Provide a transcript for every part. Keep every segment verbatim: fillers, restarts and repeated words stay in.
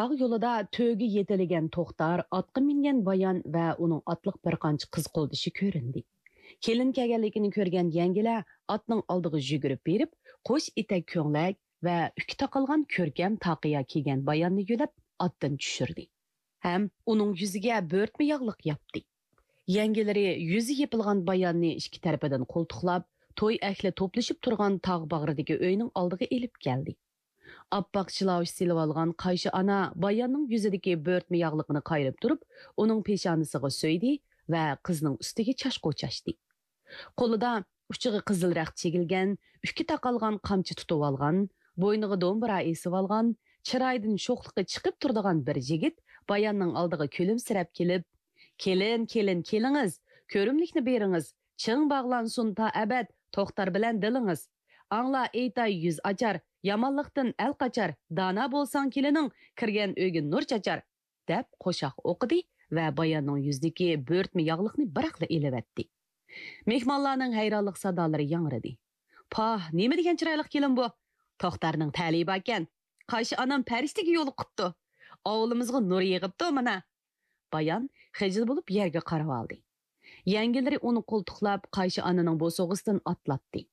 تاغ يولىدا تۆگە يېتىلىگەن توختار، ئاتقا مىنگەن بايان ۋە ئۇنىڭ ئاتلىق بىر قانچە قىز قولدىشى كۆرۈندى. كېلىن كەلگەنلىكىنى كۆرگەن يەڭگىلەر ئاتنىڭ ئالدىغا يۈگۈرۈپ بېرىپ، قوش ئېتەك كۆڭلەك ۋە ئۈكى تاقالغان كۆركەم تاقىيا كىيگەن باياننى يۆلەپ، ئاتتىن چۈشۈردى ھەم ئۇنىڭ يۈزىگە بۆرتمە ياغلىق ياپتى. يەڭگىلىرى يۈزى يېپىلغان باياننى ئىككى تەرىپىدىن قولتۇقلاپ، توي ئەھلى توپلىشىپ تۇرغان تاغ باغرىدىكى ئۆينىڭ ئالدىغا ئېلىپ كەلدى. ئاپئاق شىلاۋۇش سېلىۋالغان قايشى ئانا باياننىڭ يۈزىدىكى بۆرتمە ياغلىقىنى قايرىپ تۇرۇپ، ئۇنىڭ پېشانىسىغا سۆيدى ۋە قىزنىڭ ئۈستىگە چاچ قوچاشتى. قولىدا ئۇچىغا قىزىل رەخت چېگىلگەن، ئۈكى تاقالغان قامچا تۇتۇۋالغان، بوينىغا دومبۇرا ئېسىۋالغان، چىرايىدىن شوخلۇقى چىقىپ تۇرىدىغان بىر يىگىت باياننىڭ ئالدىغا كۈلۈمسىرەپ كېلىپ، «كېلىن، كېلىن، كېلىڭىز، كۆرۈملۈكنى بېرىڭىز، چىڭ باغلانسۇن تا ئەبەد توختار بىلەن دىلىڭىز. ئاڭلا ئېيتاي يۈز ئاچار، يامانلىقتىن ئەل قاچار، دانا بولساڭ كېلىنىڭ، كىرگەن ئۆيگە نۇر چاچار» دەپ قوشاق ئوقۇدى ۋە باياننىڭ يۈزىدىكى بۆرتمە ياغلىقنى بىراقلا ئېلىۋەتتى. مېھمانلارنىڭ ھەيرانلىق سادالىرى ياڭرىدى. «پاھ، نېمە دېگەن چىرايلىق كېلىن بۇ! توختارنىڭ تەلىيى باركەن. قايشى ئانام پەرىشتىگە يولۇقۇپتۇ. ئاۋۇلىمىزغا نۇر يېغىپتۇ مانا.» بايان خىجىل بولۇپ يەرگە قارىۋالدى. يەڭگىلىرى ئۇنى قولتۇقلاپ، قايشى ئانىنىڭ بوسۇغىسىدىن ئاتلاتتى.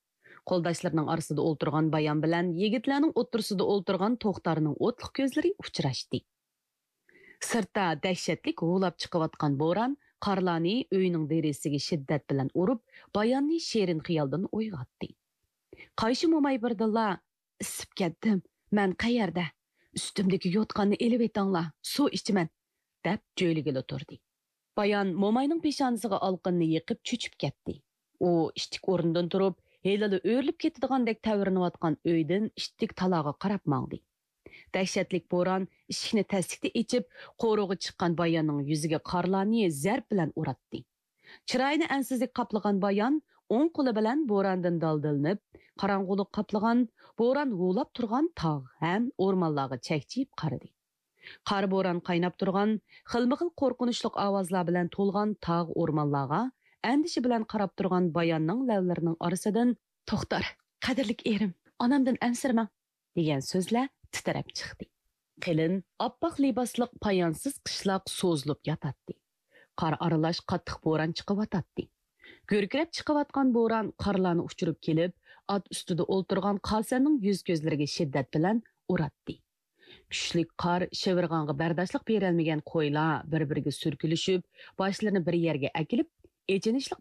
قولداشلىرىنىڭ ئارىسىدا ئولتۇرغان بايان بىلەن يىگىتلەرنىڭ ئوتتۇرىسىدا ئولتۇرغان توختارنىڭ ئوتلۇق كۆزلىرى ئۇچراشتى. سىرتتا دەھشەتلىك ھۇۋلاپ چىقىۋاتقان بوران قارلارنى ئۆينىڭ دېرىزىسىگە شىددەت بىلەن ئۇرۇپ، باياننى شېرىن خىيالدىن ئويغاتتى. قايشى موماي بىردىنلا، «ئىسسىپ كەتتىم، مەن قەيەردە؟ ئۈستۈمدىكى يوتقاننى ئېلىۋېتىڭلار، سۇ ئىچىمەن» دەپ جۆيلىگىلى تۇردى. بايان موماينىڭ پېشانىسىغا ئالقىنىنى يېقىپ چۆچۈپ كەتتى. ئۇ ئىتتىك ئورنىدىن تۇرۇپ، ھېلىلا ئۆرۈلۈپ كېتىدىغاندەك تەۋرىنىۋاتقان ئۆيدىن ئىتتىك تالاغا قاراپ ماڭدى. دەھشەتلىك بوران ئىشىكنى تەسلىكتە ئېچىپ، قورۇغا چىققان باياننىڭ يۈزىگە قارلارنى زەرب بىلەن ئۇراتتى. چىرايىنى ئەنسىزلىك قاپلىغان بايان ئوڭ قولى بىلەن بوراندىن دالدىلىنىپ، قاراڭغۇلۇق قاپلىغان، بوران ھۇۋلاپ تۇرغان تاغ ھەم ئورمانلارغا چەكچىيىپ قارىدى. قارا بوران قايناپ تۇرغان، خىلمۇخىل قورقۇنچلۇق ئاۋازلار بىلەن تولغان تاغ ئورمانلارغا ئەندىشە بىلەن قاراپ تۇرغان باياننىڭ لەۋلىرىنىڭ ئارىسىدىن، «توختار، قەدىرلىك ئېرىم، ئانامدىن ئەنسىرىمەڭ» دېگەن سۆزلەر تىترەپ چىقتى. قېلىن، ئاپئاق لىباسلىق پايانسىز قىشلاق سوزۇلۇپ ياتاتتى. قار ئارىلاش قاتتىق بوران چىقىۋاتاتتى. گۈركىرەپ چىقىۋاتقان بوران قارلارنى ئۇچۇرۇپ كېلىپ، ئات ئۈستىدە ئولتۇرغان قاسەننىڭ يۈز-كۆزلىرىگە شىددەت بىلەن ئۇراتتى. كۈچلۈك قار شىۋىرغانغا بەرداشلىق بېرەلمىگەن قويلار بىر-بىرىگە سۈركىلىشىپ، باشلىرىنى بىر يەرگە ئەكېلىپ، ئېچىنىشلىق